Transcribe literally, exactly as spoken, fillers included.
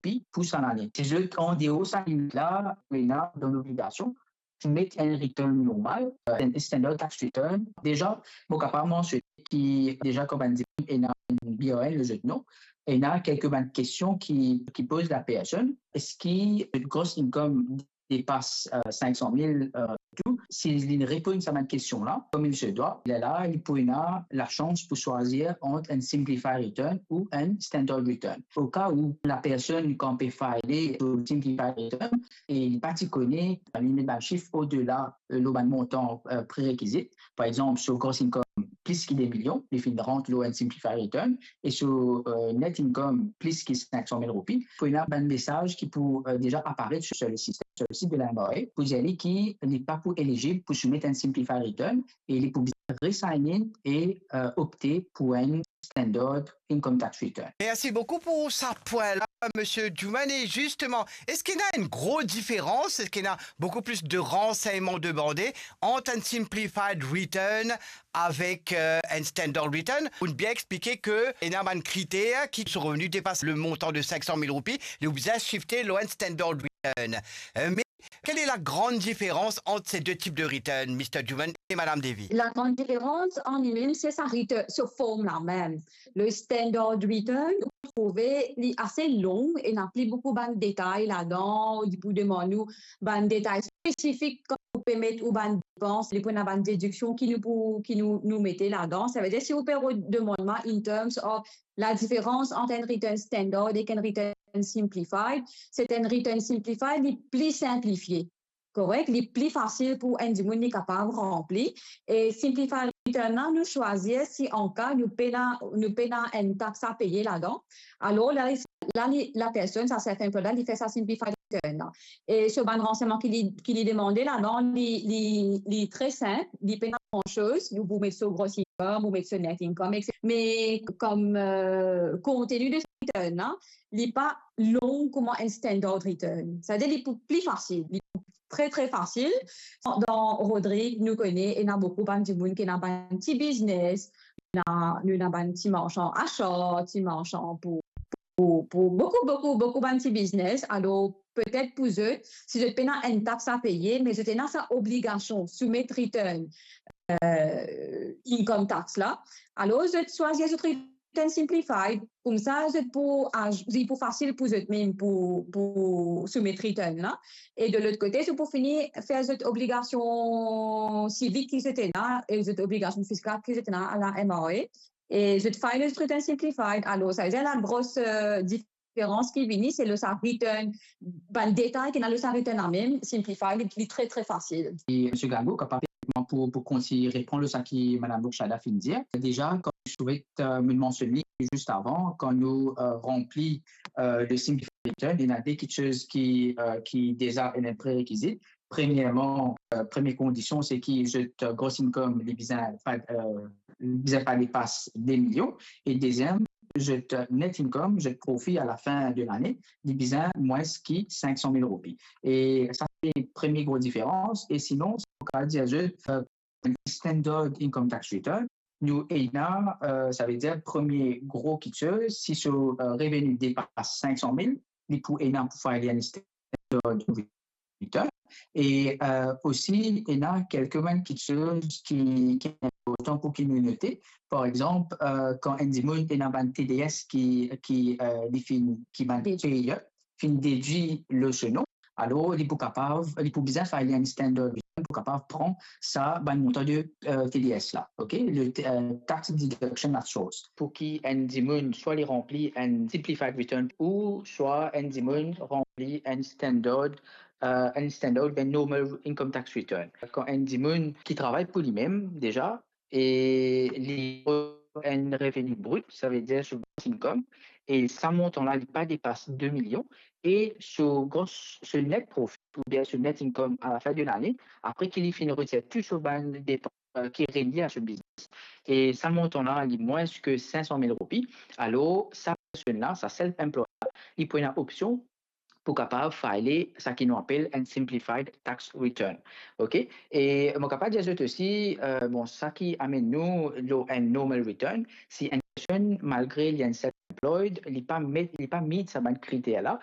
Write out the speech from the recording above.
roupi pou sa lane. Si zot andeor sa limit la, ena dan lobligasion pou met enn return normal, euh, enn standard tax return. Deza, mo kapav mansione ki deza kan bann dimoun ena enn B R N lor zot non, ena kelke bann kestion ki, ki poz lapersonn, eski zot gross income depas, euh, cinq cent mille, euh, tou. Si li reponn sa bann kestion la, kouma li se dwa, lerla, li pou ena lasans pou swazir ant enn simplified return ou enn standard return. O ka ou lapersonn kan pe file so simplified return e li pa ti kone, li met bann sif odela, euh, lor bann montan, euh, prerekizit. Par exanp, so gross income plis ki de milion, li finn rant lor enn simplified return, e so, euh, net income plis ki cinq cent mille roupi, pou ena bann mesaz ki pou, euh, deza aparet sur, sur le système, sur le site de la M R A, pou dir li ki li pa pou elizib pou soumet enn simplified return e li pou bizin re-sign in e, euh, opte pou enn standard income tax return. Mersi boukou pou sa pwin la, Misie Juman. E zisteman, eski ena enn gro diferans, eski ena boukou plis de ransegnman demande ant enn simplified return avek, euh, enn standard return? Ou bien explike ke ena bann kriter ki so reveni depas le montan de cinq cent mille roupi, li oblize shifte lor enn standard return. Euh, me quelle est la grande différence entre ces deux types de return, Mister Juman et Madame Devi? La grann diferans an li mem, se sa return, so form la mem. Le standard return, ou trouve, li ase long e ena pli boukou bann detay ladan, li pou demann ou bann detay spesifik kan ou pe met ou bann depans, li pou ena bann dediksion ki nou pou, ki nou, nou mete ladan. Savedir, si ou pe re-, demann mwa in terms of la diferans ant enn return standard ek enn return simplified, se enn return simplified, li pli sinplifie. Korek? Li pli fasil pou enn dimoun li kapav ranpli. E simplified return la, nou swazir si an ka nou pena, nou pena enn tax a peye ladan. Alor la, la li, lapersonn, sa self-employed la, li fer sa simplified return la. E so bann ransegnman ki li, ki li demande ladan, li, li, li tre sinp, li pena gran soz, ou pou met so gross income, ou met so net income, etsetera. Me kom, euh, konteni de return la, li pa long kouma enn standard return. Savedir li pou pli fasil, li pou tre, tre fasil. Dan Rodrig, nou kone, ena boukou bann dimoun ki ena bann ti biznes, ena, nou ena bann ti marsan asar, ti marsan pou, pou, pou boukou, boukou, boukou bann ti biznes. Alor, petet pou zot, si zot pena enn tax a peye, me zot ena sa obligasion soumet return, euh, income tax la, alor zot swazir zot return simplified, koumsa zot pou, ah, li pou fasil pou zot mem pou, pou soumet return la. E de lot kote, zot pou fini fer zot obligasion sivik ki zot ena e zot obligasion fiskal ki zot ena a la M R A. E zot file zot return simplified. Alor, savedir la gros, euh, diferans ki vini, se lor sa return, bann detay ki ena lor sa return la mem, simplified, li, li tre, tre fasil. E Misie Gago, kapav pou, pou kontign reponn lor sa ki Madam Boukshada finn dir. Deza, kan nou soumet, euh, mo mansionn li zis avan, kan nou, euh, ranpli, euh, le simplified return, ena de kiksoz ki, euh, ki deza ena prerekizit. Premierman, euh, premie kondision, se ki zot, euh, gross income, li bizin pa, euh, li bizin pa depas de milion. E deziem, zot, euh, net income, zot profi a la fin de lane, li bizin mwins ki cinq cent mille roupi. E sa se premie gro diferans. E sinon, sa nou kapav dir zot, euh, standard income tax return, nou ena, euh, savedir premie gro kiksoz, si so, euh, reveni depas cinq cent mille, li pou ena pou file enn standard return. E, euh, osi, ena kelke bann kiksoz ki, ki inportan pou ki nou note. Par exanp, euh, kan enn dimoun ena bann T D S ki, ki, euh, li finn, ki bann payer, finn dedwi lor so non, alor li pou kapav, li pou bizin file enn standard return pou kapav pran sa bann montan de, euh, T D S la, ok? Le, euh, tax deduction at source. Pou ki enn dimoun swa li ranpli enn simplified return ou swa enn dimoun ranpli enn standard, euh, enn standard oubien normal income tax return. Kan enn dimoun ki travay pou limem deza, e li enn reveni brit, savedir so gross income, e sa montan la, li pa depas de milion, e so gross, so net profit, oubien so net income a la fin de lane, apre ki li finn retir tou so bann depans, euh, ki relie a so biznes, e sa montan la, li mwins ki cinq cent mille roupi, alor sa personn la, sa self-employed la, li pou ena opsion pou kapav file sa ki nou apel enn simplified tax return. Ok? E mo kapav dir zot osi, euh, bon, sa ki amenn nou lor enn normal return, si enn personn, malgre li enn self-employed, li pa met, li pa meet sa bann kriter la,